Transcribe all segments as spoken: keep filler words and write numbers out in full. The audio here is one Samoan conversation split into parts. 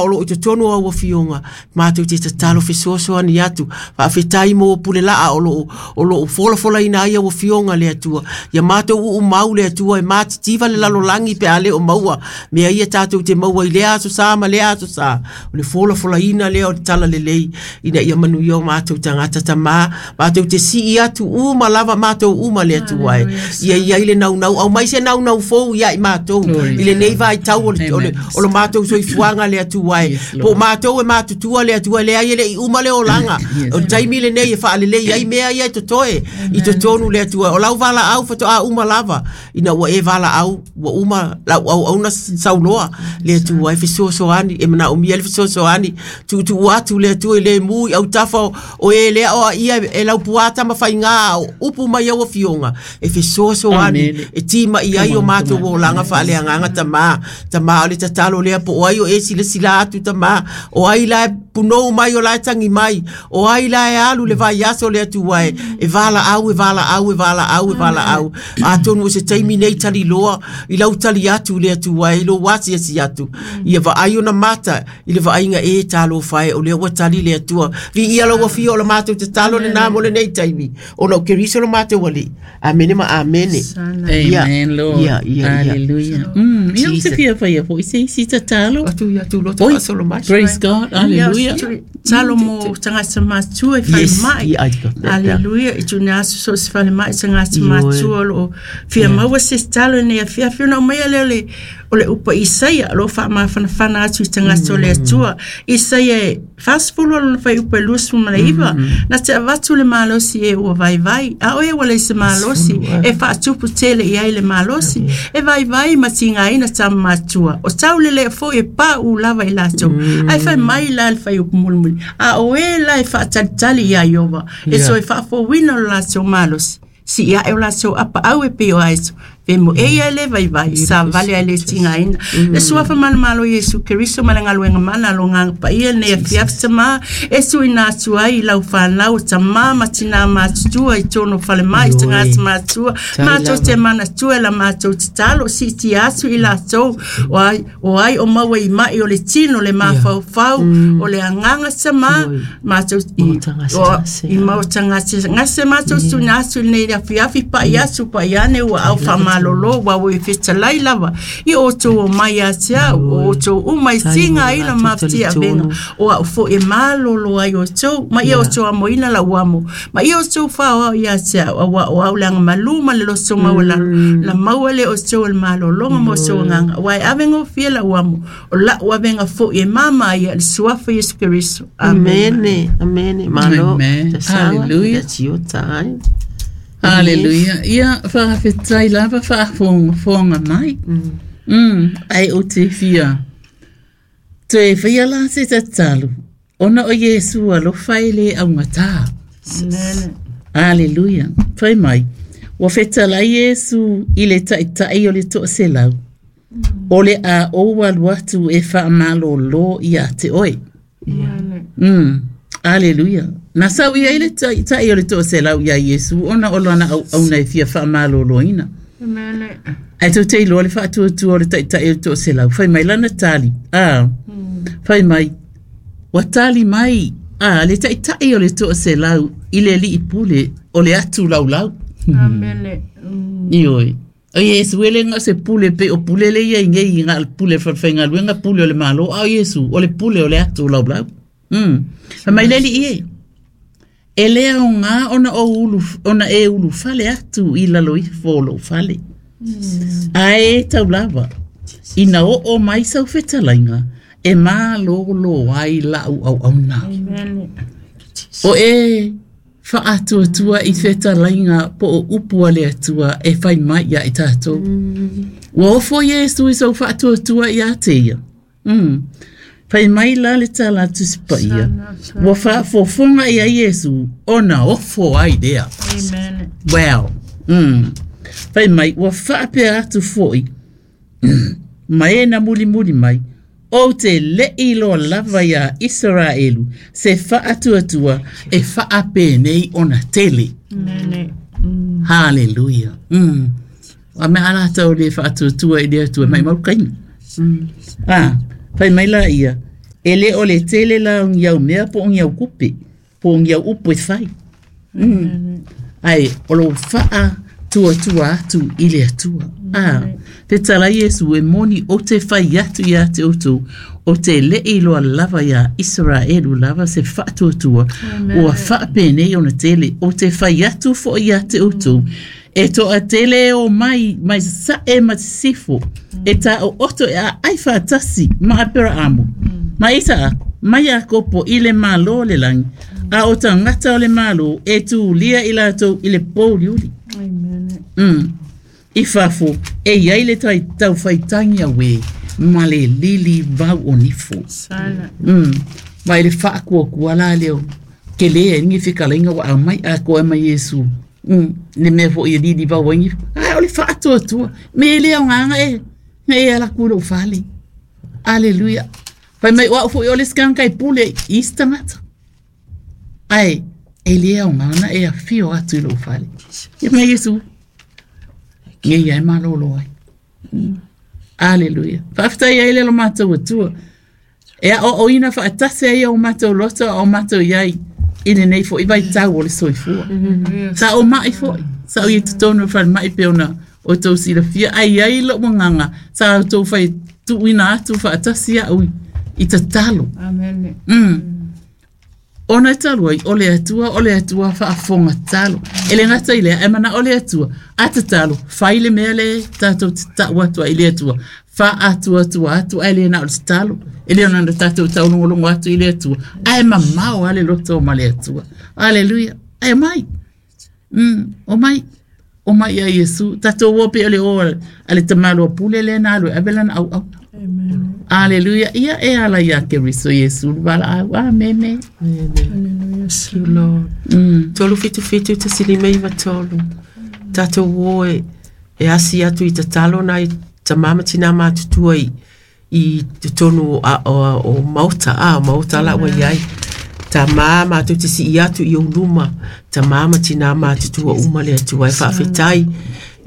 o loo i totonu o au afioga matou te tatalo fesoasoani atu. Faafetai mo pule laa o loo o loo folafolaina ai au afioga le Atua. Ia matou uumau le Atua e matitiva le lalolagi pe a le o maua mea ia tatou te maua i lea aso sa ma lea aso sa. O le folafolaina lea o le tala lelei ina ia manuia o matou tagata tamā matou te sii atu uma lava matou uma le Atua e. Ia iai le naunau au mai se naunau fou ia i matou i lenei vaitau o le o le o le matou soifuaga le Atua e. Po matou e matutua le Atua leai e le'i uma le olaga. O le taimi lenei e faalelei ai mea ia e totoe i totonu le Atua. O lau valaau faatoa uma lava ina ua e valaau ua uma lau auauna sauloa le Atua e fesoasoani e manaomia le fesoasoani tuutuu atu le Atua i le mu i autafa o, o e lea o ia e laupuā tamafaigā o upu mai au afioga e fesoasoani e tima'i ai o matou olaga faaleagaga tamā. Tamā o le tatalo lea po o ai o e silasila atu tamā o ai la e punou mai o la e tagi mai o ai la e alu le vaiaso le Atua e e valaau e valaau e valaau e valaau. Atonu o se taimi nei taliloa i lau tali atu le Atua e i lou asiasi atu ia vaai ona mata i le vaaiga e talofa e o lea ua tali le Atua. Viia lau afio o le matou tatalo lenā mo lenei taimi ona o Keriso lo matou Alii. Amene ma amene. Amen, Lord. Ia, ia, ia. Hallelujah. Mm, ia o se fia faia foi se isi tatalo. Atu ia tu loto Oi, faasolo mai. Praise God. Hallelujah. Talo mo tagata matua i Yes, falemai. yeah, I got that. Aleluia. I tuina atu so o se falemai tagata Ioe. matua o loo fia maua se isi talo i lenei afiafi ona aumaia lea o le o le upu a Isaia o loo faamafanafana atu i tagata o le Atua. Isaia e fasefulu a lona fuaiupu e luasefulu ma le iva. Na te avatu le malosi e ua vaivai. A o e ua leai se malosi e faatupu tele i ai le malosi. E vaivai ma tigaina tama matua. O taulelea foi e paʻu lava i latou. Ae fai mai la le fuaiupu mulimuli. A o e la e faatalitali iā Iova. E Yeah. toe faafouina o le latou malosi. Sii aʻe o latou apaau e pei o aeto. Femoʻe ia e lē vaivai, savali ae lē tigaina. Le suafa malemalo Iesu Keriso ma le galuega mana a logaga paia lenei afiafi tamā e tuuina atu ai i lau fanau o tamā ma tinā matutua i tonu o falemai Ioe. tagata matua. Tai Matou lava. te manatua e la matou tatalo siitia atu i latou o ai o ai o maua i maʻi o le tino le mafaufau o le agaga tamā Ioe. matou i Maotagasegase. o- i maotagasegase matou tuuina atu i lenei afiafi paʻi atu paʻi ane ua au faamalōlō ua ua i fetalai lava i outou omai ia te au o outou uma i tiga ai la mafatia avega o aʻu foʻi e malōlō ai outou ma ia outou amoina lau amo ma ia outou faoao ia te au auā o au le agamalū ma le loto maualalo na maua le outou o le malōlōga ma outou agaga auā e avegofie lau amo o laʻu avega foʻi e māmā ia le suafa Iesu Keriso. Amen. Amene, amene. Malo. Amen. Tasanga, Hallelujah. That's your time. Hallelujah. Ia faafetai lava faafogafoga mai. Mm, ai o te fia. Toe faia la se tatalo. Ona o Iesu alofa e le augatā. Amen. Hallelujah. Fai mai. Ua fetalai Iesu i le taʻitaʻi o le toʻaselau. O le a ou alu atu e faamalōlō ia te oe. Mm. Hallelujah. Na sau ia i le taʻitaʻi o le toʻaselau iā Iesu ona o lana auauna e fia faamalōlōina. Amen. Ae tou te iloa le faatuatua o le taʻitaʻi o le toʻaselau. Fai mai lana tali. Ah. Fai mai. Ua tali mai a le taʻitaʻi o le toʻaselau i le aliʻi pule o le atu laulau. Amen. Mm. Ioe. O Iesu e le ga o se pule pe o pule le ia i nei i ga pule falefaigaluega pule o le malo a o Iesu o le pule o le atu laulau. Mm. Fai mai le aliʻi e. E le aogā ona ou ulu, ona e ulufale atu i lalo ifo o lou fale. Ae e tau lava, ina oo mai sau fetalaiga, e malōlō ai laʻu auauna. Amen. O e faatuatua i fetalaiga po o upu a le Atua e fai mai ia i tatou. Ua ofo Iesu i sou faatuatua ia te ia. Mm. Fai mai la le tala Tusi Paia. Ua faafofoga ia Iesu ona ofo ai lea. Amen. Wow. Mm. Fai mai, ua faapea atu foʻi ma e na mulimuli mai. Ou te leʻi loa lava iā Isaraelu se faatuatua e faapenei ona tele. Amen. Mm. Hallelujah. Mm. A mea ala tau le faatuatua i le Atua mai mau kaimi. Ah, fai mai la ia. E le o le tele la o ni au mea po o ni au kupe, po o ni au upu e fai. Mm. Ai, o lo faa tua tua atu i le atua. Ah, te tala Iesu e moni o te fai atu ia te outou, o te le iloa lava ia Israelu lava se faatuatua, ua faapenei ona tele, o te fai atu foi ia te outou, e toa tele o mai, mai sae ma te sifo, e tā o oto e a ai faatasi ma Aperaamo, ma Isaako, ma Iakopo i le malo o le lagi, a o tagata o le malo e tulia i latou i le pouliuli. Mm. I fafo, e iai le tai taufaitagi auē ma le lili vau o nifo. Mm. Ma i le faakuakua la leo, ke lē ai ni fekalaiga ua aumai atoa ai ma Iesu. Mm. Le mea foʻi e lili vau ai nifo. Ae o le faatuatua, me e lē aogaga e, na e alaku i lou fale. Aleluia. Fai mai o au foʻi o le sikagaga e pule i isi tagata. Ae, e lē aoga na e afio atu i lou fale. Ia mai Iesu. Ngei ai malolo ai. Mm. Aleluia. Faafetai ai le lo matou atua. E a o ina faatasi ai o matou loto o matou iai i lenei foʻi vaitau o le soifua. Sa o mai foʻi. Sa o ia totonu o falemai pe ona o tou silafia ai ai lou agaga sa outou fai tuuina atu faatasi au i tatalo. Amen. Mm. Ona e talu ai, o le atua, o le atua faafofoga tatalo. E le gata i lea, e mana o le atua, a tatalo, fai le mea le tatou te tau atu ai i le atua. Faatuatua atu ae le na o le tatalo. E le ona na tatou taulogologo atu i le atua. Ae mamao a le loto ma le atua. Aleluia. Ae mai. Mm, o mai. O mai ia Iesu. Tatou o pe o le o a le tamaloa pule le na alu e ave lana auauna. Aleluia. Ia e ala ia Keriso Iesu le valaau. Amene. Amen. Thank you, Lord. Mm. Tolu fitu fitu tasi lima iva tolu. Tatou o e, e asi atu i tatalo nai tamā ma tinā matutua i, i totonu o, a, o, o maota, a, o maota la ua iai. Tamā mātou te sii atu i ou luma, tamā ma tinā matutua uma le atua e faafetai.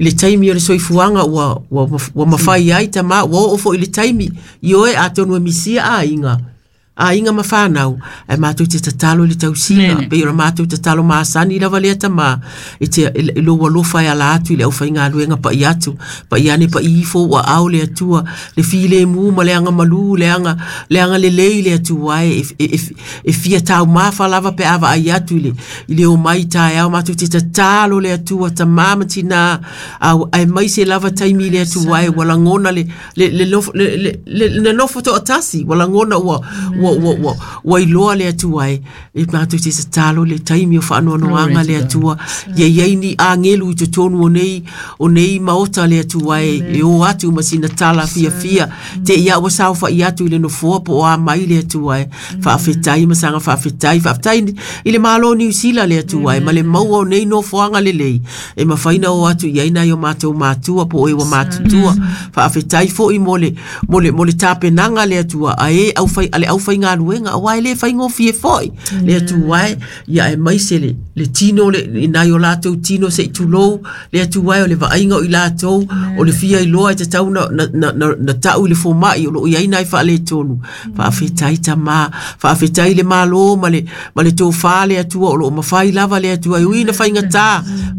I le taimi o le soifuaga ua, ua, ua mafai ai tamā, ua oo foi i le taimi, i oe atonu e misia aiga. Aiga ma whānau, e mātou te tatalo i le tausiga, Nene. pe o le mātou tatalo masani lava lea tamā, e te e, e lou alofa e ala atu i le aufaigaluega pa'i atu, pa'i ane pa'i ifo ua ao le atua, le filemu ma le agamalu, le aga, le agalelei le atua e, e, e, e fia taumafa lava pe a vaai atu i le, i le omai taeao, mātou te tatalo le atua, tamā ma tinā, au, aemaise lava taimi i le atua e, ua lagona le, le, le, nofo- le, le, le, le nofo to'atasi, ua lagona ua, ua, ua, ua, ua iloa le atua e, e mātou te tatalo le taimi o faanoanoaga Glory le to God. atua, ia iai ni agelu i totonu o nei, o nei maota le atua e, e o atu ma sina tala fiafia, te ia ua saofa'i atu i le nofoa po o a mai le atua e, faafetai ma saga faafetai, faafetai i le Malo o Niu Sila le atua e, ma le maua o nei nofoaga lelei, e mafai na o atu i ai nai o matou matua po o e ua matutua, faafetai fo'i mo le, mo le, mo le tapenaga le atua, a e aufai, a le aufaigaluega, auā e lē faigofie fo'i le atua e, ia aemaise le, le tino le, i nai o latou tino se'i tulou le atua e o le vaaiga o i latou, o le fia iloa e tatau na, na, na, na, na ta'u i le foma'i o loo iai nai faaletonu. Faafetai tamā, faafetai le Malo ma le, ma le tofā le atua o loo mafai lava le atua e ui na faigatā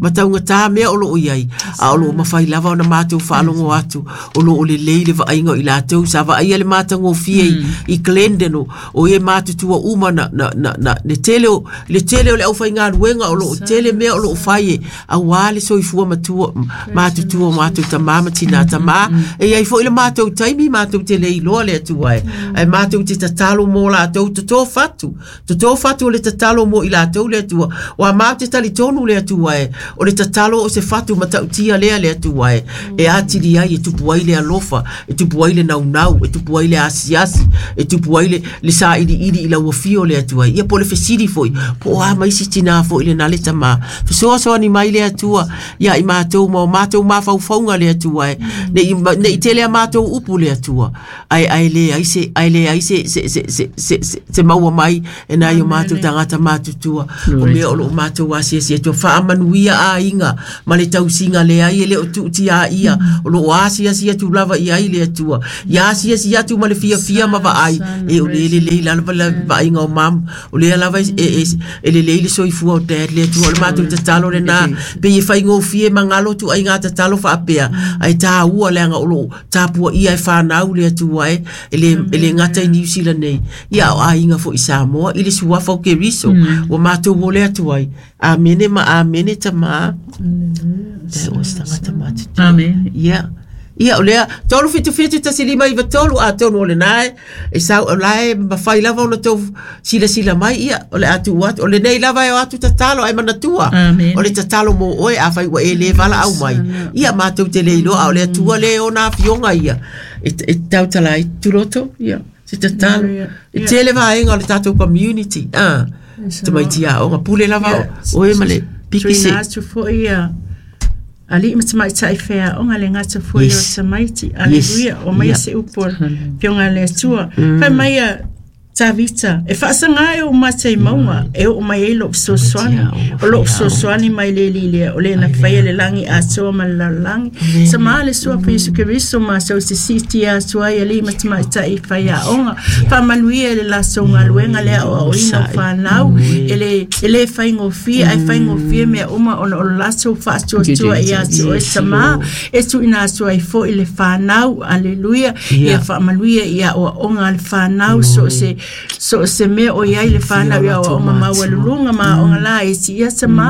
ma taugatā mea o loo iai, a o loo mafai lava ona matou faalogo atu o loo lelei le vaaiga o i latou sa vaaia le matagofie i, i Glendon o, o e matutua uma na, na, na, na, le tele o, le tele o le aufaigaluega o loo tele mea o loo fai e auā le soifua matua matutua o matou tamā ma tinā tamā e iai foʻi le matou taimi matou te le iloa le atua e ae matou te tatalo mo latou totō fatu totō fatu o le tatalo mo i latou le atua o a matou te talitonu le atua e o le tatalo o se fatu matautia lea le atua e e atili ai e tupu ai le alofa e tupu ai le naunau e tupu ai le asiasi e tupu ai le, le sailiili i lau afio le atua ia po le fesili foʻi po o a mai si tinā foʻi lena le tamā fesoasoani mai le atua ia i matou ma o matou mafaufauga le atua e nei nei tele a matou upu le atua ai ai le ai se ai le ai se se se se se se, se maua mai e nai o matou tagata matutua o mea o loo matou asiasi atua faamanuia aiga ma le tausiga leai e le o tuutiaia o loo asiasi atu lava i ai le atua ia asiasi atu ma le fiafia ma vaai e o le le le le la la vaaiga o mam o lea lava e e e lelei le soifua o dad le Atua o le matou tatalo lenā pei e faigofie magalo tuaiga tatalo faapea ae tāua leaga o loo tapuaia e fanau le Atua e e le e le gata i Niu Sila nei ia o aiga foi Samoa i le suafa o Keriso ua matou o le atu ai amene ma amene tamā. That was tagata matutua. Amen. Ia. Ia o lea tolu fitu fitu tasi lima iva tolu atonu o lenā e e sau o lae mafai lava ona tou silasila mai ia o le a tuu atu o lenei lava e o atu tatalo ae manatua Amen. o le tatalo mo oe afai ua e lē valaau mai ia matou te le iloa a o le Atua lē ona afioga ia e e tautala ai tuloto ia se tatalo e tele vaega o le tatou community a tamaiti aoga pule lava o oe ma le piki se Tuina atu foi ia ali'i ma tamaitai feaoga le gata foi o Yes. tamaiti. Aleluia. O mai Yeah. se upu o le Afioga a le Atua. Fai mai ia Tavita, e faasaga e oo mata i mauga, e oo mai ai lou fesoasoani. O lou fesoasoani mai le alii lea, o le na faia le lagi atoa ma le lalolagi. Samā le suafa Iesu Keriso matou te siitia atu ai alii ma tamaitai faiaoga. Faamanuia i le latou galuega le aoaoina o fanau, e le e lē faigofie ae faigofie mea uma ona o le latou faatuatua ia te oe samā, e tuuina atu ai foi le fanau. Aleluia. Ia faamanuia i aoaoga a le fanau so o se so o se mea o iai le fanau i aoaoga maualuluga ma aoga la e tiia tamā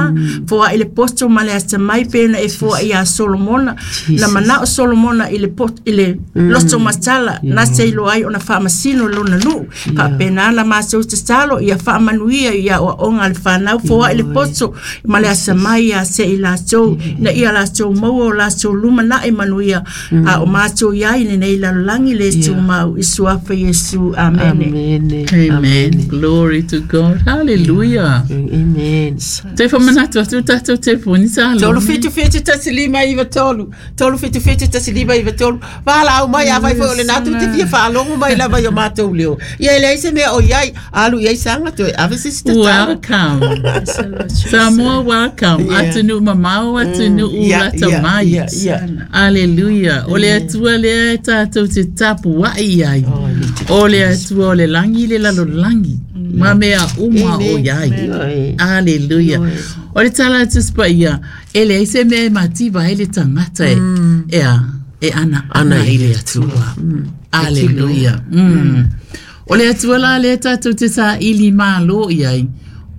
foaʻi le poto ma le atamai pena e foaʻi iā Solomona na manao Solomona i le pot, i le loto matala na te iloa ai ona faamasino lona nuu faapena la matou tatalo ia faamanuia i aoaoga a le fanau foaʻi le poto ma le atamai ia te i latou ina ia latou maua o latou lumanaʻi manuia a o matou iai lenei lalolagi le tumau i suafa Iesu. Amene. Amene. Amen. Glory to God. Hallelujah. Amen. Toe faamanatu atu tatou telefoni sa Tolu fitu fitu tasi lima iva tolu. Tolu fitu fitu tasi lima iva tolu. Valaau mai afai foi o lenā tou te fia faalogo mai lava i o matou leo. Ia e leai se mea o iai, alu i ai saga toe ave se isi tatalo. Welcome. Samoa, welcome. Yeah. Atunuu mamao, atunuu Yeah, lata yeah, mai. yeah, yeah. Aleluia. O le Atua lea e tatou te tapuaʻi ai. Oh, e le te- O le Atua o le lagi le lalolagi. Ma mea uma o iai. Ioe. Aleluia. O le tala atu sepaia, e leai se mea e mativa ai le tagata e, e a, e ana ana i le Atua. Aleluia. Mm. O le Atua la lea tatou te saili mālō i ai,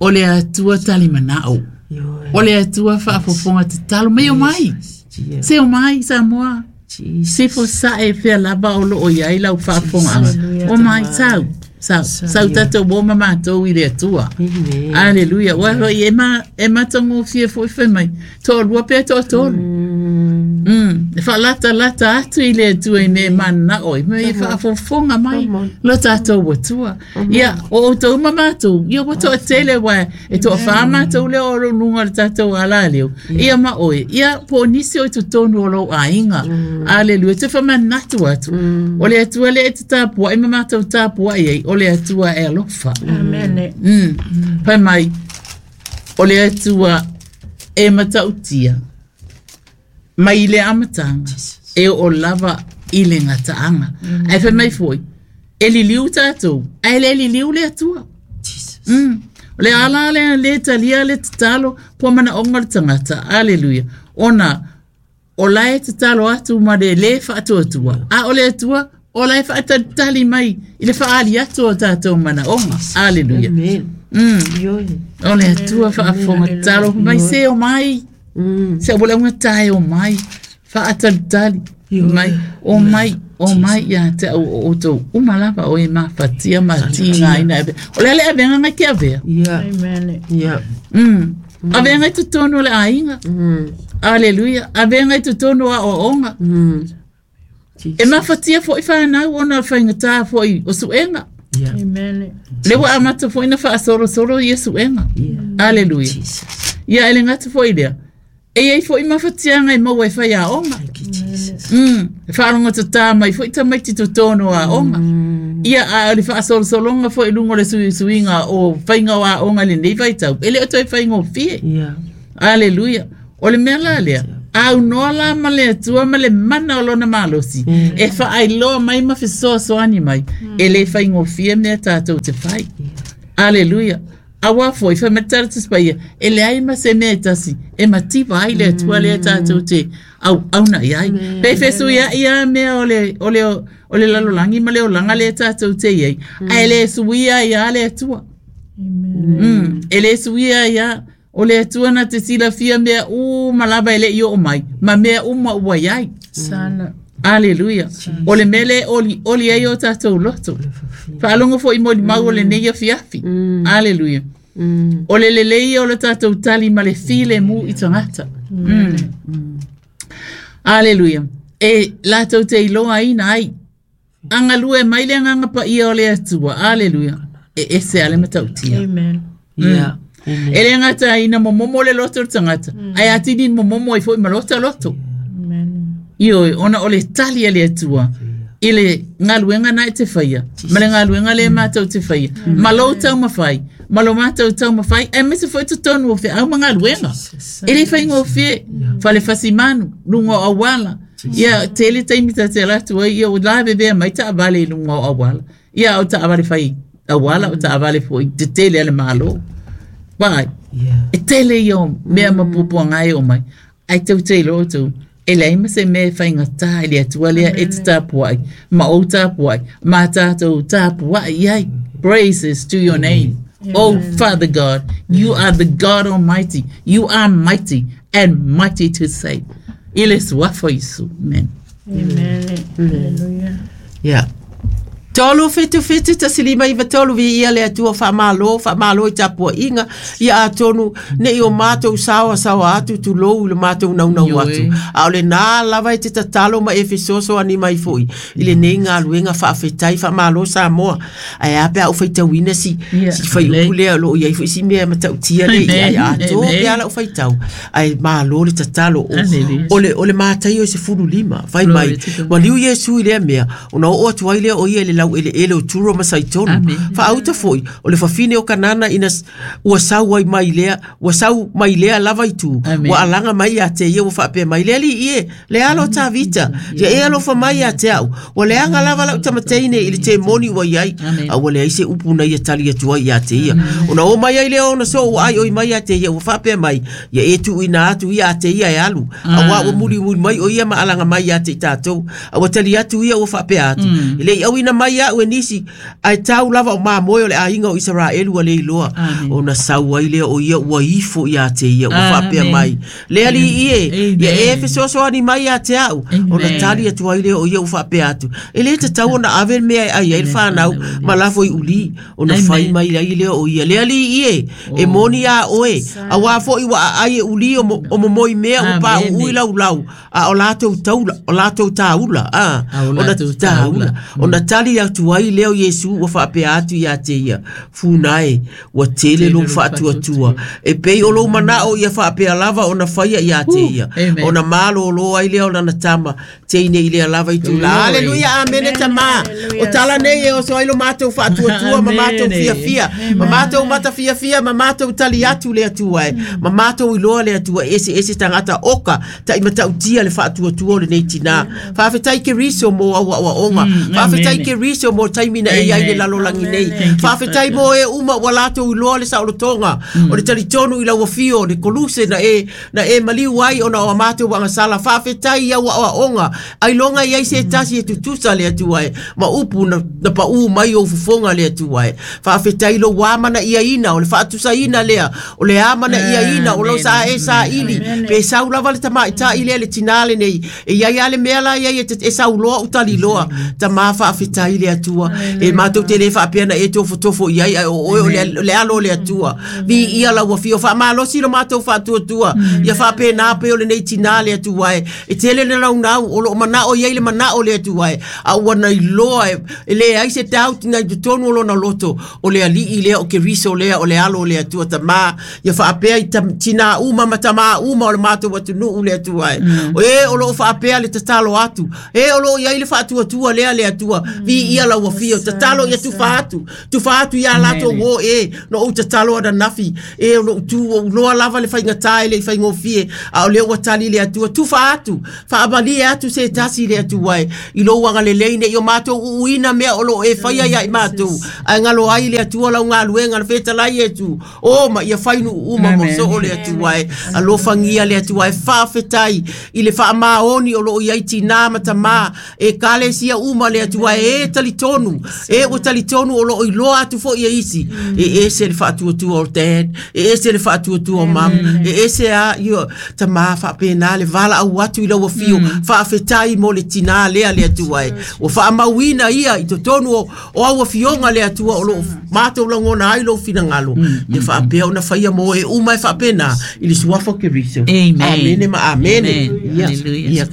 o le Atua talimanao. Ioe. O le Atua faafofoga tatalo mai o mai. Yeah. Se o mai Samoa. Jesus. Se fo sae fea lava o loo iai lau faafofogaaga. O mai sau. Sau, sau tatou o ma matou i le Atua. Amen. Aleluia. Ua hoi e ma e matagofie foi fai mai. Toalua pea toatolu. Mm. E faalatalata atu i le Atua i mea e mananao ai. Me e faafofoga mai lo tatou Atua. Ia, o outou ma matou, ia ua toatele uae e toafā matou lea o luga o le tatou alā leo. Ia ma oe, ia po o nisi o i totonu o lou aiga. Aleluia. Te faamanatu atu. O le Atua lea e te tapuaʻi ma matou tapuaʻi ai, o le Atua e alofa. Amene. Mm. Fai mai, o le Atua e matautia mai le amataga e oo lava i le gataaga. Ae fai mai foi, e liliu tatou, ae le liliu le Atua. Jesus. Mm. O le ala lea lē talia le tatalo po manaoga o le tagata. Aleluia. Ona o lae tatalo atu ma le lē faatuatua. A o le Atua, o lae faatalitali mai i le faaali atu o tatou manaoga. Aleluia. Amen. Mm. Ioe. O le Atua faafofoga tatalo mai se o mai. Mm. Se ua le augata e o mai. Faatalitali mai o mai o mai ia te au o outou uma lava o e mafatia ma tigaina e o le ale avega mai ke avea. Yeah. Amen. Yeah. Mm. Avega i totonu o le aiga. Mm. Aleluia. Avega i totonu o aoaoga. Mm. E mafatia foi fanau ona o le faigatā foi o suega. Yeah. Amen. Le ua amata foi na faasolosolo ia suega. Yeah. Aleluia. Jesus. Ia e le gata foi lea. E iai foi mafatiaga e maua e faiaoga. Thank you, Jesus. Mm. E faalogotatā mai foi tamaiti totonu o aoga. Ia a o le faasolosologa foi i luga o le suisuiga o faiga o aoga i lenei vaitau. E le o toe faigofie. Yeah. Aleluia. O le mea la lea. Au noa la ma le Atua ma le mana o lona malosi. E faailoa mai ma fesoasoani mai. E le faigofie mea tatou te fai. Aleluia. Aua foi, fai mai tala Tusi Paia, e leai ma se mea e tasi, e mativa ai le Atua lea tatou te auauna i ai. Pe fesuiai a mea o le, o le, o le lalolagi ma le olaga lea tatou te i ai. Ae le suia ai a le Atua. Mm, e le suia ai a. O le Atua na te silafia mea uma lava e le i oo mai, ma mea uma ua i ai. Sana. Aleluia. O le mea lea oli, oli ai o tatou loto. Faalogo foi mo limau o lenei afiafi. Aleluia. O le lelei o le tatou tali ma le filemu i tagata. Mm. Aleluia. E latou te iloaina ai. Agalue mai le agaga paia o le Atua. Aleluia. E ese a le matautia. Amen. Yeah. E le gata ina momomo le loto o le tagata. Ae atili momomo ai foi ma lota loto. Amen. Ioe, ona o le tali a le Atua i le galuega na e te faia, ma le galuega le matou te faia, ma lou taumafai, ma lo matou taumafai, aemaise foi totonu o feau ma galuega. E le faigofie, fale fasimanu, luga o auala. Ia, tele taimi ta te ala atu ai, ia ua lavevea mai taavale i luga o auala. Ia, o taavale fai auala, o taavale foi tetele a le Malo. Vai, e tele ia o mea ma puapuaga e oo mai. Ae tou te iloa outou, e leai ma se mea e faigata i le Atua lea e te tapuai, ma ou tapuai, ma tatou tapuai i ai. Praises to your name. Oh, Father God, you are the God Almighty. You are mighty and mighty to save. I le suafa o Iesu. Amen. Amen. Hallelujah. Yeah. Tolu fitu fitu tasi lima iwa tolu vi ia le Atua faamalo, faamalo i tapuaiga ia atonu nei o matou saoa saoa atu tulou i le matou naunau atu. A o lenā lava e te tatalo ma e fesoasoani mai foi i lenei galuega faafetai faamalo Samoa. Ae a pe a ou faitauina si, Yeah. si faiupu lea o loo iai foi si mea matautia le ia ai atoa pe a lau faitau. Ae malo le tatalo o, Hallelujah. o le, o le mataio i sefulu lima fai mai. Glory to God. Maliu Iesu i lea mea, ona oo atu ai lea o ia i le lau eleele o Turo ma Saitonu. Amen. Faauta foi, o le fafine o Kanana ina s- ua sau ai mai lea, ua sau mai lea lava i tu. Amen. Ua alaga mai ia te ia ua faapea mai le alii e, le alo Tavita, ia e alofa mai ia te au. Ua leaga lava lau tamateine i le temoni ua iai. Amen. A ua leai se upu na ia tali atu ai ia te ia. Ona o mai ai lea ona so ua ai oi mai ia te ia, ua faapea mai, ia e tuuina atu ia a te ia e alu. Auā ua mulimuli mai o ia ma alaga mai ia te i tatou. A ua tali atu ia ua faapea atu. E le i auina mai au e nisi, ae tau lava o mamoe o le aiga o Isaraelu ua le iloa. Amen. Ona sau ai lea o ia ua ifo ia te ia, ua faapea Amen. mai. Le alii e, ia e Amen. fesoasoani mai ia te au. Amen. Ona tali atu ai lea o ia ua faapea atu. E le tatau ona ave le mea e ai ai le fanau, ma lafo i uli. Ona Amen. fai mai ai lea o ia. Le alii e, e moni a oe. Auā foi ua aai e uli o mo- o momoi mea ua pauu i laulau. A o latou taula, o latou taula. Ah, A o ona latou taula. taula. Ona tali atu ai lea o Iesu ua faapea atu ia te ia. Funa e, ua tele lou faatuatua. E pei o lou manao ia faapea lava ona faia ia te ia. Amen. Ona malōlō ai lea o lana tama teine i lea lava i tula. Glory. Aleluia, amene tamā. O tala nei e oso ai lo matou faatuatua ma matou Amene. fiafia. Ma matou matafiafia ma matou tali atu le Atua e. Ma matou iloa le Atua ese ese tagata oka ta i matautia le faatuatua o lenei tinā. Faafetai Keriso mo au aoaoga. Faafetai Amen. Keriso mo taimi na e iai le Amen. lalolagi nei. Thank you, Faafetai mo e uma ua latou iloa le saolotoga. O le talitonu i lau afio o le koluse na e, na e maliu ai ona o a matou agasala. Faafetai i au aoaoga. Ailoga i ai se tasi e tutusa le Atua e. Ma upu na, na paū mai ou fofoga le Atua e. Faafetai lou amanaiaina o le faatusaina lea. O le amanaiaina o lau sa e saili. Pe sau lava le tamaitai lea le tinā lenei. E iai a le mea la iai e, te- e sauloa u taliloa. Tamā faafetai le Atua. E matou te le faapea na e tofotofo i ai, ai o oe o le, le alo o le Atua. Vi ia lau afio faamalosi lo matou faatuatua. Ia faapena pe o lenei tinā le Atua e. E tele le naunau o loo manao i ai le manao le Atua e. A ua na iloa e, e leai se doubt na i totonu o lona loto o le alii lea o Keriso lea o le alo o le Atua tamā. Ia faapea i tam, tinā uma ma tamā uma o le matou atunuu le Atua e. O e o loo faapea le tatalo atu. E o loo i ai le faatuatua lea le Atua. Vi Viia lau afio tatalo ia tufa atu tufa atu ia latou o e no ou tatalo ananafi e o lou tu o uloa lava le faigata e le i faigofie a o lea ua tali le Atua tufa atu faamalie atu se tasi le Atua e i lou agalelei nei o matou uuina mea o loo e faia ia i matou ae galo ai le Atua lau galuega le fetalai e tu o ma ia fainuu uma mo soo le Atua e alofagia le Atua e faafetai i le faamaoni o loo iai tinā ma tamā e kalesia uma le Atua e talitonu e ua talitonu o loo iloa atu foi e isi e ese le faatuatua o dad e ese le faatuatua o mam e ese a io tamā faapena le valaau atu i lau afio faafetai mo le tinā lea le Atua e ua faamauina ia i totonu o, o au afioga le Atua o loo matou lagona ai lou finagalo ia faapea ona faia mo e uma e faapena i le suafa o Keriso. Amen. Amene ma amene. Amen. Yeah. Hallelujah. Yeah.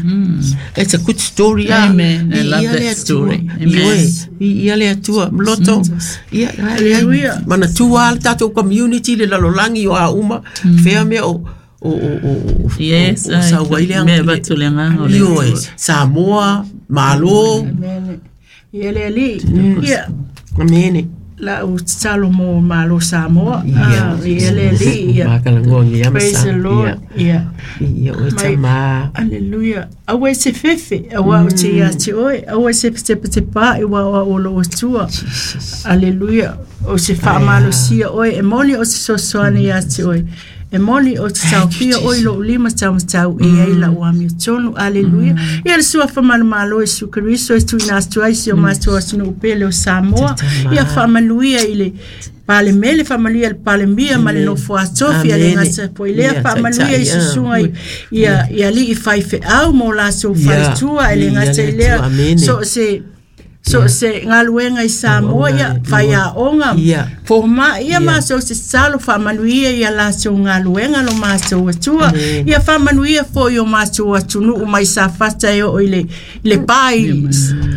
It's a good story. ah. Amen. I love Ia le that Atua. story. Amen. Ioe. Ia le Atua. Mloto. Ia, Hallelujah. Manatua le tatou community le lalolagi o a uma. Fea mea o o o o o Yes, o, o sau ai le mea avatu le agaga o le Ioe. Atua. Samoa, Malo. Amen. Ia le alii. Ia Amene. la u tatalo mo Malo Samoa. Ah, ia le alii. Ia. Makalagoa ia Praise the Lord. Ia. Ia o Mai- tamā. Aleluia. Aua e se fefe, aua o te ia te oe, aua e se tepatepa i wa o lo atua. Aleluia. O se faamalosia oe, e moni o se sosoane ia te oe. E moni o te taofia oe lou lima taumatau e ai lau amiotonu. Aleluia. Ia le suafa malomalo Iesu Keriso e tuuina atu ai si o matou atunuu pele o Samoa. Ia faamanuia i le Palemele, faamanuia i le Palemia ma le nofo atofi a le Amene. gata foi lea, Ia, faamanuia i taitai, ah. susuga i ia i alii faifeau mo latou Ia, faletua e le ia gata le i lea Atua, amene. so o se so o se galuega i Samoa ia faiaoga Ia. foma'i ia matou se tatalo faamanuia ia latou galuega lo matou atua Amene. ia faamanuia foi o matou atunuu mai Safata e oo i le i le pa i i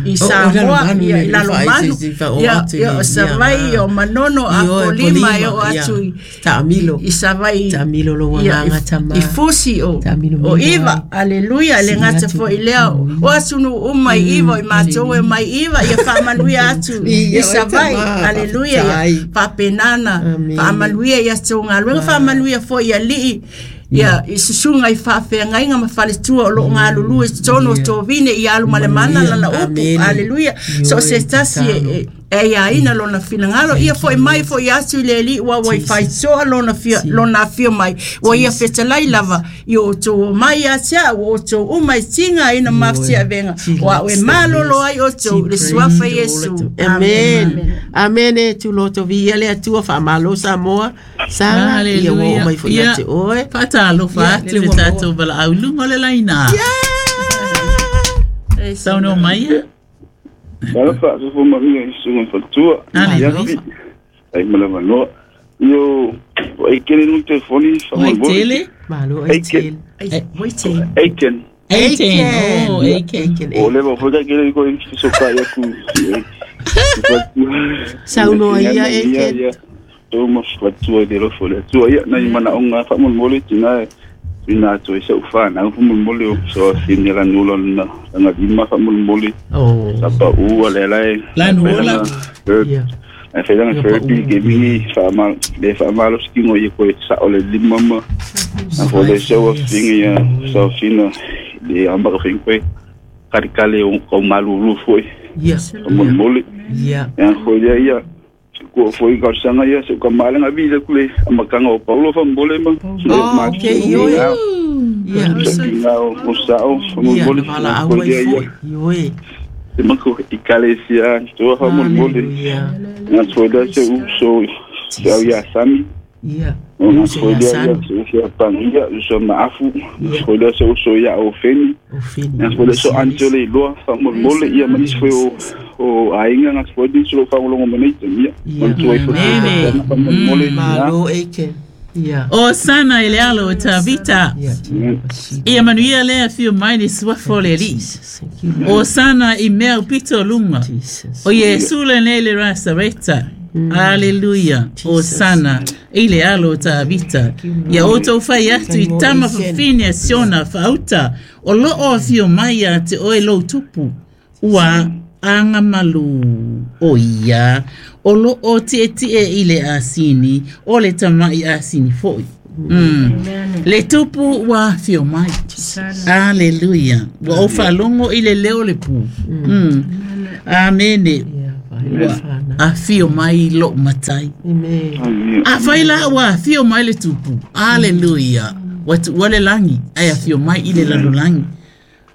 O- o Samoa Lalomanu ia i le Lalomanu faai- se- se- o ia atu i ia le- o Savaii ia. o Manono Ioe, Apolima e oo ia. atu i Taamilo. i Savaii Taamilo lou ia, agaga i- tamā. i Fusi o Taamilo o mila Iva ai. aleluia le Sili gata atu. foi lea o atunuu uma i Iva o i matou e mai Iva ia faamanuia atu Ia, i Savaii tamā, aleluia ia faafetai. faapenana Amene. faamanuia ia tou galuega faamanuia foi i alii ia i susuga i faafeagaiga ma faletua o loo galulue i totonu o tovine i alu ma le mana lana upu Amene. aleluia so o se tasi e- e e iaina lona finagalo ia foi mai foi atu i le alii ua ua i faitoa lona fia lona afio mai ua ia fetalai lava i o outou omai ia te a'u o outou uma e tigaina ma mafatiavega o a'u e malolo ai outou i le suafa Iesu. Amen. Amene tuloto viia le Atua faamalo Samoa. Sala ia ua oo mai foi ia te oe. Faatalofa Ia, atu le le ua maua. tatou valaau i luga o le laina. Saunoa mai ia. Talofa, sofo maria i susuga i faletua. Aleluia. Ai ma le avanoa. Io, o Aikene nu telefoni Oi faamolemole. tele. Malo ai tele. Waiting. Aiken. Eighteen. Oh, Aiken. Aiken. O leva foi kaikele ko i fesokai aku. Saunoa ia, Aiken. Tō ma fatua i te lofo le Atua. Ia, nai manaoga faamolemole tina e tuuina atu ai sa'u fanau faamolemole o fesoafini lanu lona lagalima faamolemole Oh. sa pa'u a lea lae Lanuola. Ia. ae failaga Ia, therapy pa'u. gaming faama le faamalosi ia koe sa'o le lima ma a fo le sau afiga ia saofina le amaka faig koe kalikale o kaumalulu fo'i Ia. faamolemole Ia. ia foi lea ia kua foi kausaga ia seu kamalega vile ku le amakaga o Paulo faamolemole ma Oh, okay, ioe. Ia. safiga o sa'o Ia, faamolemole na valaau foi ai lea ia foi. Ioe. se mako ikalesia toa faamolemole Hallelujah. na foi lea se uso se au ia sami Ia. na Uso foi ia lea ia Sami. se uso ia pangia uso maafu Ia. foi lea se uso ia o feni O fini. na foi lea so antole iloa faamolemole ia ma nisi foi o o aiga na foi nisi lo faalogologo mai nei tamia Ia. manatua ai foi Amen. faamolemole Malo Aiken. Ia. O sana i le alo o Tavita. Ia. Ia manuia lea afio mai le suafa o le Alii. Jesus. Thank you, Lord. O sana i mea upito o luga. Jesus. O Iesu lenei le Rasareta. Aleluia. O sana i le alo o Tavita. Ia outou fai atu i tama fafine a Siona faauta. O loo afio mai ia te oe lou tupu. Ua agamalu o ia o loo tietie i le asini o le tamaʻi asini foʻi. Mm. Le tupu ua afio mai. Aleluia. Ua ou faalogo i le leo le pu. Mm. Amene. Ua afio mai loo matai. Afai la ua afio mai le tupu. Aleluia. Ua tuua le lagi ae afio mai i le lalolagi.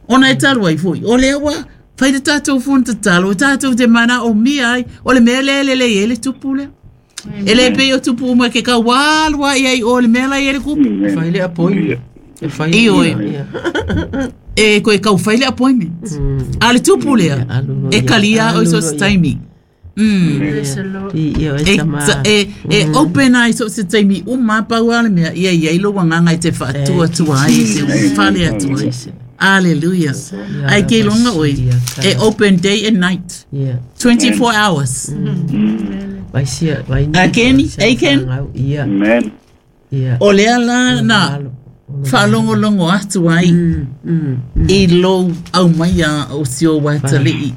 Ona e talu ai foʻi o lea ua fai le tatou fono tatalo tatou te mana o mia ai o le mea lea e lelei ai le tupu lea. E le pei o tupu uma ke kau alua i ai o le mea la i ai le kupu. Fai le appointment. E fai I oe. E koe kau fai le appointment. A le tupu lea e kalia o i so se taimi. Mm. E, e, e open ai so se taimi uma pau a le mea ia ia i lo wanganga i te whaatua tua ai te whale atua ai. Hallelujah. Ai ke longa oi. E open day and night. Yeah. twenty-four hours. Vai sia vai. Akeni, Aiken. Yeah. Amen. Yeah. O lea la na whaalongolongo atu ai i lou au mai a o sio watalii.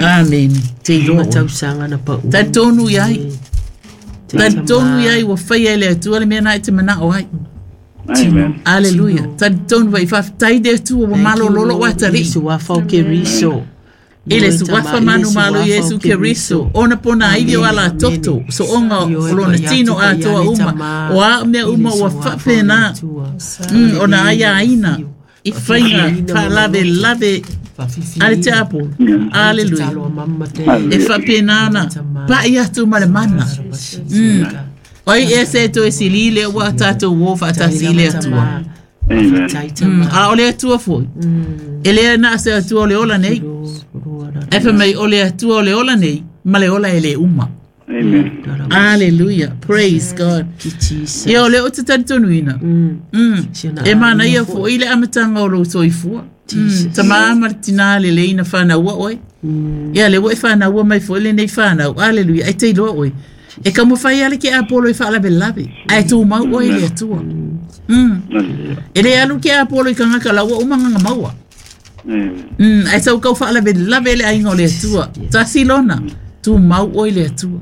Amen. Te iloa oe. Tausaga na pau. Talitonu iai. Talitonu iai ua faia e le Atua le mea na e te manao ai. Amen. Aleluia. Talitonu vai faafetai le Atua ua malololo o atalii. Suafa o Keriso. I le suafa manu malo Iesu Keriso. Ona pona aivi o ala toto. So onga o lona tino atoa uma. O a mea uma ua faapena. Mm, ona aia aina. I whainga whaalave lave ale te apo. Aleluia. E faapena ana. Pa'i atu ma le mana. Mm. Oi e se to e sili le ua tātou o whaatasi i le atua. Amen. Mm, a o le atua foi. E lea na se atua o le ola nei. E fa mai o le atua o le ola nei, ma le ola e le uma. Amen. Hallelujah. Praise God. Ia o le o te talitonuina. Mm. E mana ia foi le amatanga o lou soifua. Mm. Tamā ma le tinā le leina whānaua oe. Ia le ua e whānaua mai foi le nei whānau. Hallelujah. Ai te iloa oe. E ka mawhai ale ke Apollo i whaalave lave. Ai tū mau oe le atua. Mm. E le alu ke Apollo i kangaka laua umanganga maua. Mm. Ai sau kau whaalave lave le ainga o le atua. Tasi lona. Tū mau oe le atua.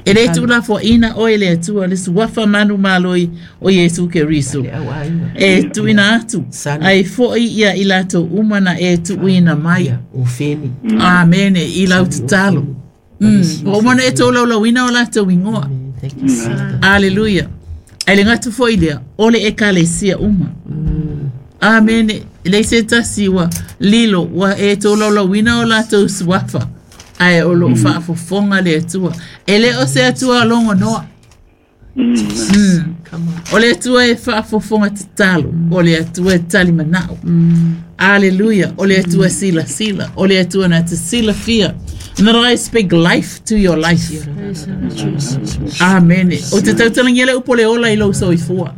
E le tū la foaina oe le Atua le suafa manu maloi o Iesu Keriso. E tuuina atu ai foʻi ia i latou uma na e tuuina mai. Amene i lau tatalo. Mm. Ua uma na e toulaulauina o latou igoa. Aleluia. Ai le gatu foʻi lea o le ekalesia uma. Amene. Le se tasi ua lilo ua e toulaulauina o latou suafa. Ai o loo faafofoga le Atua. E le o se Atua logonoa. Mm. O le Atua e faafofoga tatalo. O le Atua e talimanao. Aleluia. O le Atua silasila. O le Atua na te silafia. And that I speak life to your life. Amen. O te tautalagia le upu o le ola i lou soifua.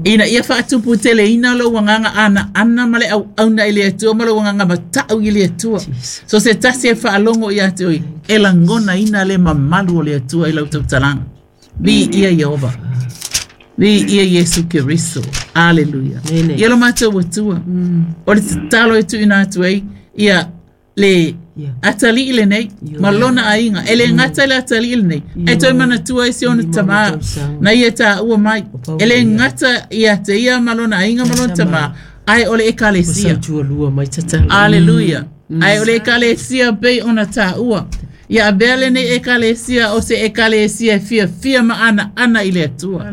Ina ia faatupu teleina lou agaga ana ana ma le auauna i le Atua ma lou agaga matau i le Atua. So se tasi e faalogo ia te oe e lagona ina le mamalu o le Atua i lau tautalaga. Vi ia Iehova. Vi ia Iesu Keriso. Aleluia. Ia lo matou Atua. O le tatalo e tuuina atu ai ia le atalii lenei ma lona aiga. E le gata i le atalii lenei. E toe manatua ai si ona tamā na ia tāua mai. E le gata ia te ia ma lona aiga ma lona tamā. Ai o le ekalesia. Aleluia. Ai o le ekalesia pei ona tāua. Ia avea lenei ekalesia o se ekalesia e fiafia ma ana ana i le Atua.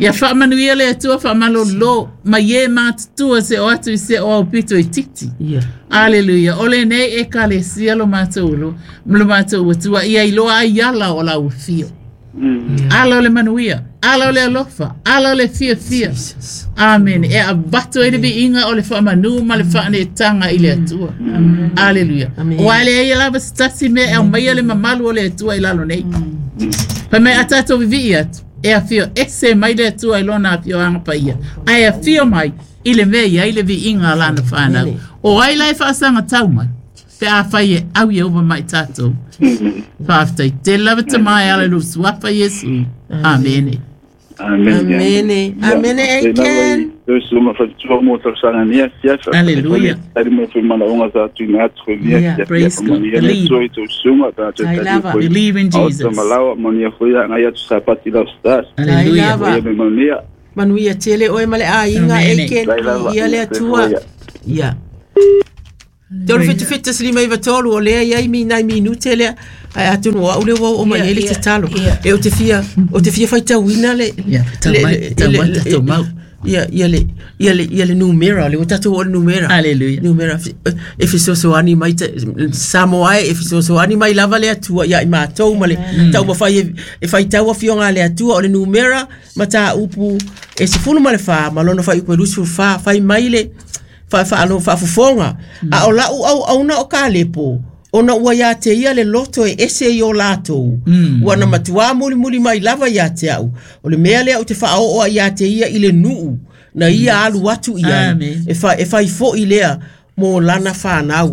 Ia faamanuia le Atua faamalolo ma ie matutua se o atu i se o aupito i titi. Aleluia. O lenei ekalesia lo matou lo lo matou Atua ia iloa ai ala o lau afio. Ala o le manuia, ala o le alofa, ala o le fiafia. Amen. E avato ai le viiga o le faamanu ma le faaneetaga i le Atua. Aleluia. Ua le ai lava se tasi mea e aumaia le mamalu o le Atua i lalo nei. Fai mai a tatou vivii atu e afio ese mai le Atua i lona afioaga paia. Ae afio mai i le mea iai le viiga a lana whanau. O ai la e faasagatau mai pe a fai e au Iehova mai tatou. Faafetai tele lava tamā e ala i lou suafa Iesu. Amene. Amen. Amene. Amene Aiken. Hallelujah. Yeah, praise God. Believe. Believe in Jesus. Hallelujah. Manuia tele oe male aiga e ke ia le Atua. Ia. Tolu fitu fitu silima iva tolu o lea iai mi nai minute lea. Ai atonu o au le wau o mai ele te talo. E o te fia, o te fia faitauina le... Ia, tau mai, tau mai, tau mau. Ia, ia le, ia le, ia le numera, le o tatou o le numera. Hallelujah. Numera, e fesoasoani mai, Samoa e fesoasoani mai lava le Atua, ia i mātou ma le taumafai e faitau afioga le Atua, o le numera, ma tāupu, e sefulu ma le wha, ma lona whai upe lusu wha, whai mai le, wha wha alo whaafofonga. A o lau au auna o ka lepo, ona ua ia te ia le loto e ese i o lātou. Mm. Ua na matua muli muli mai lava ia te au. O le mea lea o te whaoa ia te ia i le nuu, na ia mm. alu atu ia. E wha, e whai fo i lea mō lana whanau.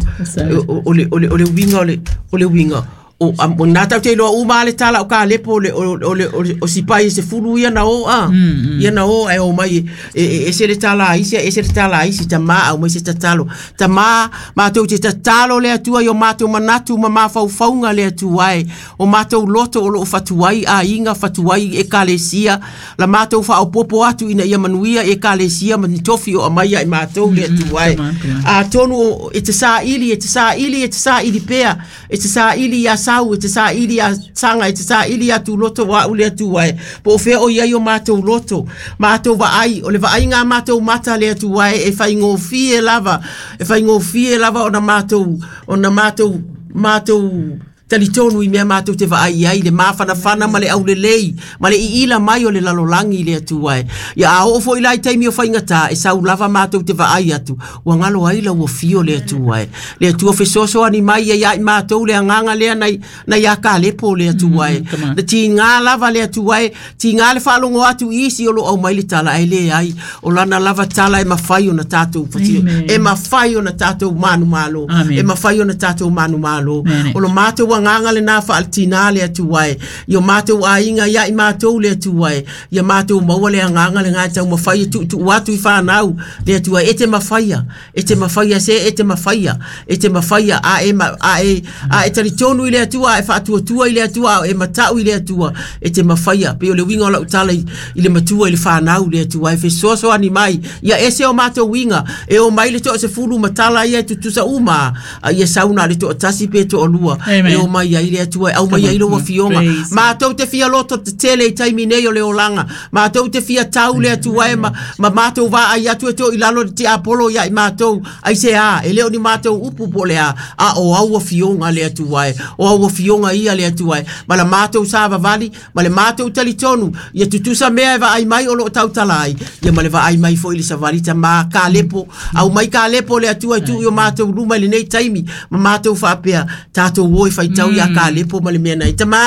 O, o, le, o, le, o le winga, o le, o le winga. O, o nā tau te iloa uma le tala o ka lepo o le, o, o, le, o, le, o sipai e se fulu ia na o a. Mm, mm. Ia na o e o mai e, e, e se le tala aisi, e se le tala aisi, ta maa au mai se tatalo. Ta maa, mātou te tatalo le Atua i o mātou manatu ma mawhaufaunga le Atua e. O mātou loto o loo fatuai a inga fatuai e kalesia. La mātou whaopopo atu ina ia manuia e kalesia ma ni tofi o amaia i mātou le Atua e. A tonu e te saa ili, e te saa ili, e te saa ili pea, e te saa ili ia sau, e te saa ili a sanga, e te saa ili a tūloto wa ule Atua e. Po o whea o ia o mātou loto, mātou vaai, o le vaai ngā mātou mata le Atua e, e whaingofie lava, e whaingofie lava o na mātou, o na mātou, mātou talitonu i mea mātou te vaai ai, le māwhanawhana ma le aulelei, ma le iila mai o le lalolangi le Atua e. Ia a oo foi lai taimi o whaingata, e sau lava mātou te vaai atu, ua ngalo ai la ua fio le Atua e. Le Atua fesoasoani mai ia ia i mātou le anganga lea nai, nai a ka lepo le Atua e. Mm, le tingā lava le Atua e, tingā le whaalongo atu isi o lo au mai le tala e le ai, o lana lava tala e mawhai o na tātou whatio, e mawhai o na tātou manu malo, e mawhai o na tātou manu malo. O lo mātou nganga le nā whaaltina le Atua e. Ia mātou ainga ia i mātou le Atua e. Ia mātou maua le anganga le ngā tau mawhai tu tu atu i whanau le Atua e te mawhaia. E te mawhaia se e te mawhaia. E te mawhaia a e, ma, a e, a e taritonu i le Atua e whaatuatua i le Atua e matau i le Atua. E te mawhaia. Pe o le winga o lau tala i, i le matua i le whanau le Atua e fesoasoani mai. Ia ese o mātou winga. E o mai le toa se fulu matala ia e tutusa uma. A ia sauna le toa tasi pe toa lua. E o mai ai le Atua, au mai ai lo afioga. Mātou te fia loto te tele i taimi nei o le olanga. Mātou te fia tau le Atua e ma, ma mātou vā ai atu e tō i lalo te apolo ia i mātou. Ai se a, e leo ni mātou upu po le a, a o au afioga le Atua e. O au afioga ia le Atua e. Ma la mātou sāvavali, ma le mātou talitonu, ia tutusa mea e vaai mai o loo tautala ai. Ia ma le vaai mai fo i le savali ta mā ka lepo. Au mai ka lepo le Atua e tu i o mātou luma i lenei taimi. Ma mātou whaapea, tātou oi whaitau ia ka lepo ma le mea nei. Tama,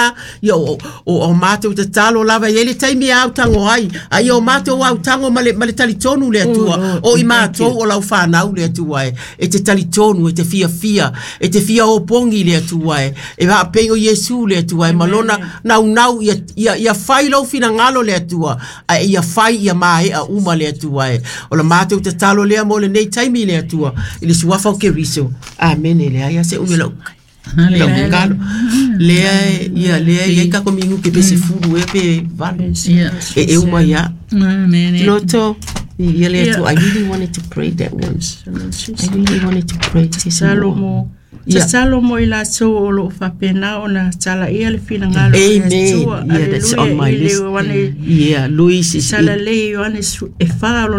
ia o, o, o mātou te talo lava i ele taimi au tango ai. Ai o mātou au tango ma le, ma le talitonu le Atua. O i mātou o lau whanau le Atua e. E te talitonu, e te fia fia, e te fia o pongi le Atua e. E vaa pei o Iesu le Atua e. Malona nau nau ia, ia, ia whai lau finangalo le Atua. A ia whai ia mae a uma le Atua e. O la mātou te talo lea mo le nei taimi le Atua. I le suafa o Keriso. Amen le aia se umelo. Hallelujah. Lea ia lea ia ka komingu ke pese fulu e pe valo. E e uma ia. Amen. Loto ia le tu I really wanted to pray that one. I really wanted to pray this Salomo. Yeah. Salomo i la so o lo fapena ona tala ia le finangalo. Amen. Yeah, that's on my list. Yeah, Luis is in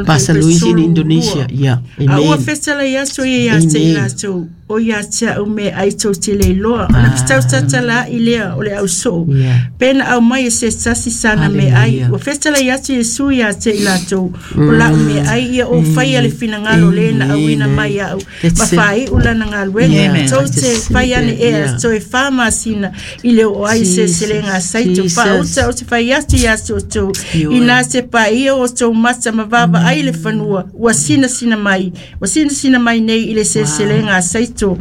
Pastor Luis in Indonesia. Yeah. A ua Amen. fesala ia so ia se la so o ia te au me ai tau te le loa. Ona fetau tatala i lea o le au so. Yeah. Pena au mai e se sasi sana me ai. Hallelujah. Ua fesala ia te Yesu ia te i latou. O lau me ai ia o whai a le finangalo le na au ina mai au. That's Ma it. whai ula na ngā luenga. Amen. tou te fai ane ea toe whamasina i le o ai se selenga saito whaauta o te whai atu i atu o tau i nā te pa ia o tau mata ma vava ai le whanua ua sina sina mai ua sina sina mai nei i le se selenga saito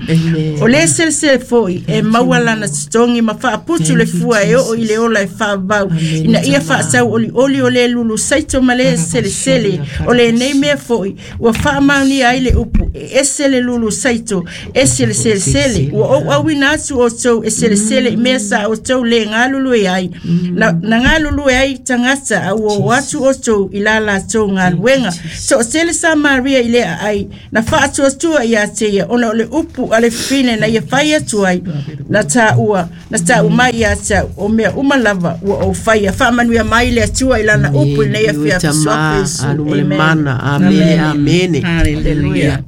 o le sele foi e maua lana tutongi ma whaaputu le fua e o i le ola e whaavau ina ia whaasau oli oli o le lulu saito ma le sele sele o le nei mea foi ua whaamauni ai le upu e ese le lulu saito ese le sele sele ua ou awina atu o tau e sele sele i mea sa o tau le ngalulu e ai na, na ngalulu e ai tangata a ua o atu o tau i la la tau ngaluenga so o sele sa Maria i lea ai na whaatuatua i a te ia ona o le upu a le fine na ia whai atu ai na tā ua na tā umai ia tau o mea uma lava ua o whaia whaamanuia mai le atua i lana upu i nei awhia whisoape Isu. Amen. Amen. Amen. Hallelujah.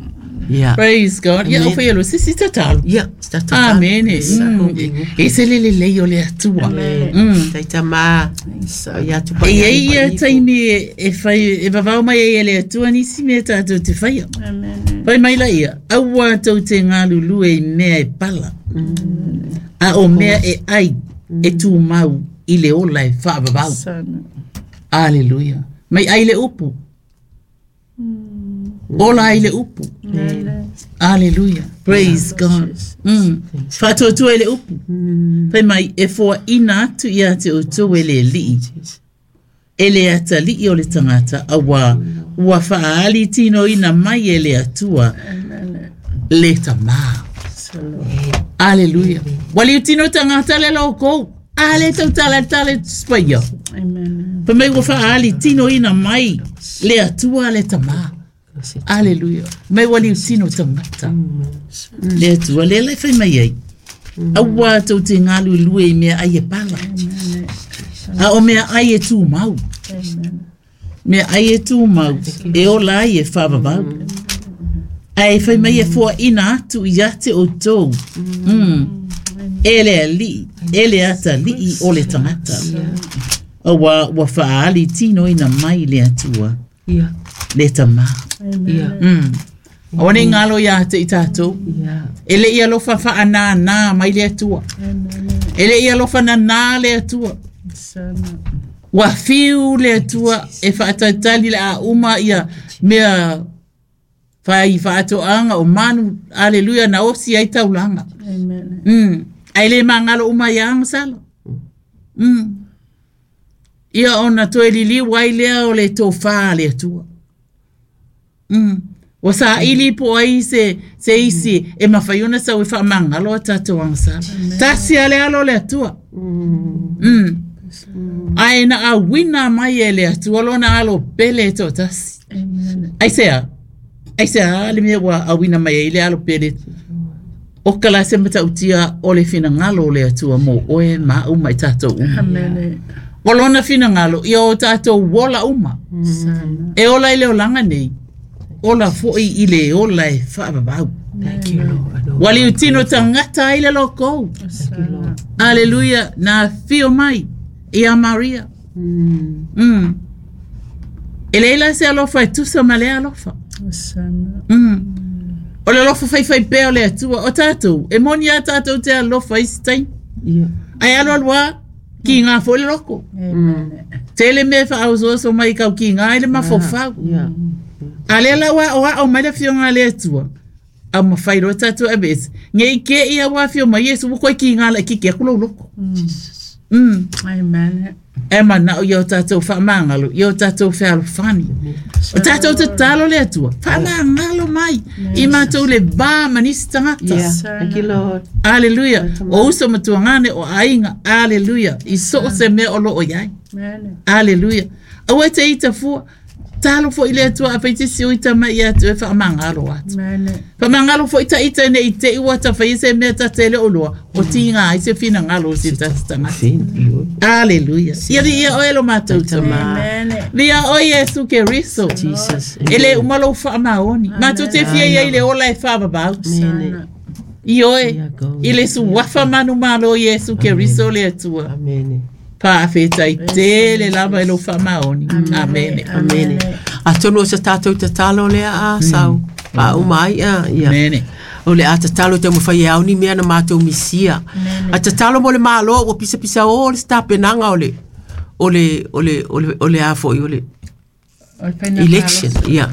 Yeah. Praise God. Yeah, o whaia lo sisi tatalo. Yeah, tatalo. Amen. E se lele lei o le atua. Amen. Taitama. E ei ia taimi e whai, e vavao mai e le atua nisi mea tātou te whaia. Amen. Whai mai la ia, aua tau te ngalulu e mea e pala. A o mea e ai, e tū mau i le ola e whaavavau. Hallelujah. Mai ai le upu. Ola ai le upu. Hallelujah. Praise God. Mm. Whaatuatua e le upu. Whai mai e fua ina atu ia te utu e le lii. E le atalii o le tangata awa ua whaali tino ina mai e le atua le tamā. Hallelujah. Wali tino tangata le loko. Ale tau tala tala spaia. Amen. Whai mai ua whaali tino ina mai le atua le tamā. Hallelujah. Mai wali tino tangata. Le atua le lai whai mai ai. Aua tau te ngalu lue i mea ai e pala. A o mea ai e tū mau. Mea ai e tū mau. E ola ai e whaavavau. Ai whai mai e fua ina atu i ate o tau. Mm. E le alii. E le ata lii o le tangata. Aua ua whaali tino ina mai le atua. Yeah. Le tamā. Yeah. Mm. Awa nei ngalo ia te i tātou. Yeah. E le ia lofa wha nā nā mai le atua. E le ia lofa nā nā le atua. Wa whiu le atua e whaataitali le a uma ia mea whai whaatoanga o manu. Aleluia na osi ai taulanga. Amen. Mm. Ai le mangalo uma ia angasalo. Mm. Ia ona toe lili wai lea o le tōwha le atua. Mm. Wa sa ili po ai se, se isi e mawhaiona sa ue whaamangalo a tātou angasala. Tasi ale alo le atua. Mm. Ai na a wina mai e le atua lona alo pele tō tasi. Ai sea, ai sea le mea wa a wina mai e le alo pele. O kala se matautia o le whina ngalo le atua mō oe ma uma i tātou uma. Amen. O lona whina ngalo ia o tātou wola uma. E ola i le olanga nei. Ola foi i le ola e whaavavau. Thank you, Lord. Wali utino tangata ai le loko. Thank you, Lord. Hallelujah. Nā whio mai i a Maria. Mm. Mm. E leila se alofa e tusa ma le alofa. Mm. O le alofa whaiwhai pea o le atua. O tātou, e moni a tātou te alofa i sitai. Yeah. Ai alo alua ki ngā fo le loko. Amen. Tele me whaausoaso mai kau ki ngā ele mawhawhau. Yeah. A le la wa o a o mai le whionga le atua. A mawhai roa tātou a bes. Ngei ke ia wā whio mai Yesu wukoi ki ngā la ki ki aku loko. Mm. Amen. E mana o ia o tātou whaamangalo, ia o tātou whealofani. O tātou te talo le atua, whaamangalo mai. I mātou le bā manisi tangata. Yeah. Thank you, Lord. Hallelujah. O uso matuangane o ainga. Hallelujah. I so se mea o lo o iai. Amen. Hallelujah. Aua te ita fua. Talo fo i le atua a peitisi o ita mai atu e whaamangalo atu. Amen. Whaamangalo fo ita ita ne i te iwa ta whai se mea ta tele o loa. O tinga ai se whina ngalo o se tata. Hallelujah. Ia ri ia oe lo mātou tama. Amen. Ria o Yesu ke riso. Jesus. E le umalo whaamaoni. Mātou te fia ia i le ola e whaababau. Amen. I oe. I le suwafa manu malo Yesu ke riso le atua. Amen. Pāwheta i tele lava e lo whaamaoni. Amen. Amen. Atonu o se tātou te talo lea a sau. Pa umai a. Ia. Amen. O le a tatalo te mawhai e au ni mea na mātou misia. A tatalo mo le malo ua pisa pisa o le stapenanga o le o le o le o le o le a foi o le election ia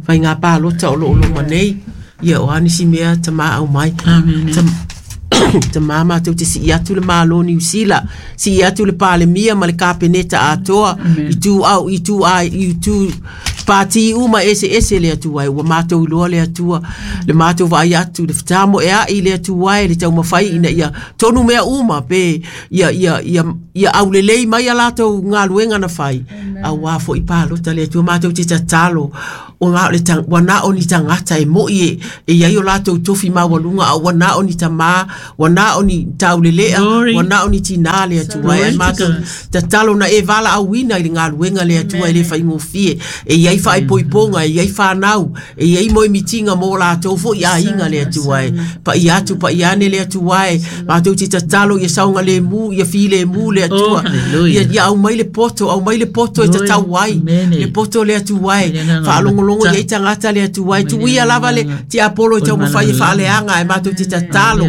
whai ngā pālota o lo o lo manei ia o anisi mea ta maa au mai. Ta mama tau te si atu le malo Niu Sila si atu le palemia ma le kapeneta atoa i tu au i tu ai i tu pati uma ese ese le atu ai ua mātou iloa le atua le mātou vaai atu le fetamo e ai le atu ai le taumafai ina ia tonu mea uma pe ia ia ia ia aulelei mai a latou galuega na fai auā foʻi palota le atua mātou te tatalo o ngā le tang wana o ni tangata e moi e e iai o latou tofi maualuga a wana o ni tamā wana o ni taulelea wana o ni tinā le atua e mātou tatalo na e vala auina i le galuega le atua e le faigofie e iai faaipoipoga e iai whanau e iai moemitiga mo latou foʻi aiga le atua e paia atu paia ane le atua e mātou te tatalo ia saogalemu ia filemu le atua ia ia aumai le poto aumai le poto e tatau ai le poto le atua e faalogologo ia i tagata le atua e tuia lava le tiapolo e taumafai e faaleaga e matou te tatalo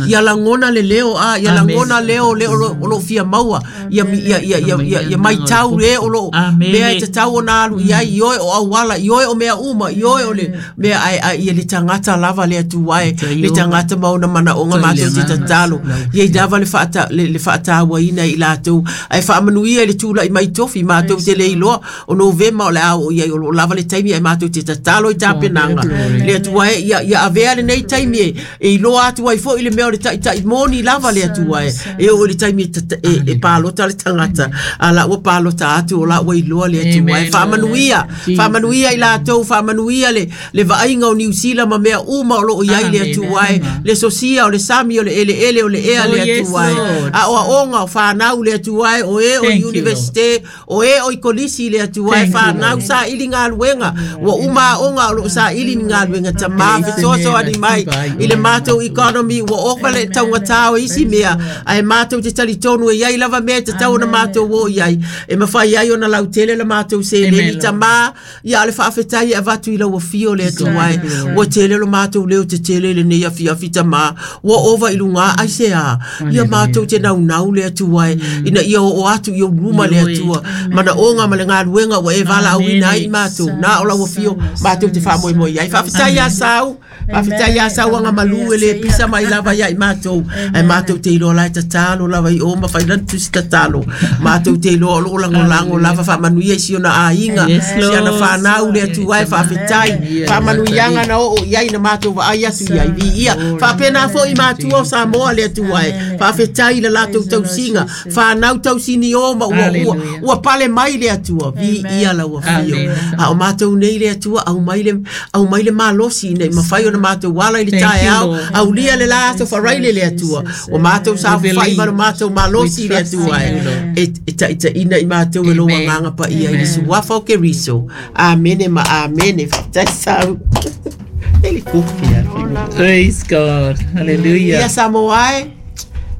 ia lagona le leo a ia lagona leo le o loo fia maua ia ia ia ia ia maitau le o loo mea e tatau ona alu iai i oe o auala i oe o mea uma i oe o le mea ai ai ia le tagata lava le atua e le tagata ma ona manaoga matou te tatalo ia i lava le faata le faatauaina i latou ae faamanuia i le tula'i mai tofi matou te le iloa o Novema o le a oo iai o loo lava le taimi ai matou te tatalo i tapenaga le atua e ia ia avea lenei taimi e e iloa atu ai foʻi le mea o le taʻitaʻi moni lava le atua e e oo i le taimi e e palota le tagata a la ua palota atu o la ua iloa le atua e faamanuia faamanuia i latou faamanuia le le vaaiga o Niu Sila ma mea uma o loo iai le atua e le sosia o le sami o le eleele o le ea le atua e a oaoga o fanau le atua e o e o universite o e o i kolisi le atua e fanau saili galuega ua uma aoga o loo saili ni galuega tamā fesoasoani mai i le matou economy ua oka le taugatā o isi mea ae matou te talitonu e iai lava mea e tatau ona matou o iai e mafai ai ona lautele le matou seleni tamā ia le faafetai e avatu i lau afio le atua e ua tele lo matou leo tetele lenei afiafi tamā ua ova i lugā ai se a ia matou te naunau le atua e ina ia oo atu i ou luma le atua manaoga ma le galuega ua e valaauina ai i matou na o lau afio matou te faamoemoe ai faafetai iā sau faafetai iā sau agamalu e le pisa mai lava ia i matou ae matou te iloa lae tatalo lava i o ma failani tusi tatalo matou te iloa o loo lagolago lava faamanuia i si ona aiga si ana fanau le atua e faafetai faamanuiaga na oo iai na matou vaai atu iai viia faapena foʻi matua o Samoa le atua e faafetai i le latou tausiga fanau tausini o ma ua ua ua pale mai le atua viia lau afio a o matou nei le atua aumai le aumai le malosi ina i mafai ona matou ala i le taeao aulia le la aso faraile le atua o matou saofafai ma le matou malosi le atua e e taʻitaʻina i matou e lou agaga paia i le suafa o Keriso. Amene ma amene. Faafetai sau ele kofi. Praise God. Hallelujah. Ia Samoa e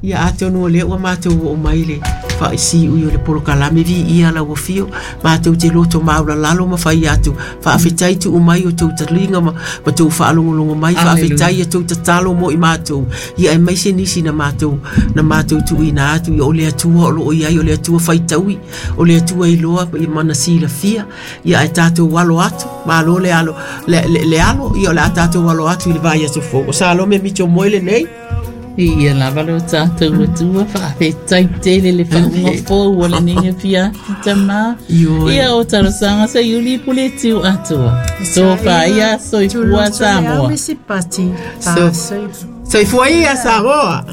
ia atonu o lea ua matou oo mai le faisiui o le polokalame viia lau afio matou te loto maulalalo ma fai atu faafetai tuu mai o tou taliga ma, ma tou faalogologo mai faafetai ia tou tatalo mo i matou ia aemaise nisi na matou na matou tuuina atu ia o le atua o loo iai o le atua faitaui o le atua iloa ia mana silafia ia ae tatou alo atu malo le alo le, le, le alo ia o le a tatou alo atu i le vaiaso fou o Salome Mitchell Moe lenei. Ia lava lo tātou atua faafetai tele le faauga fou o lenei afiafi tamā. Ia o talosaga sa iuli pule tiu atoa. Sofa ia soifua Samoa. Soifua ia Samoa.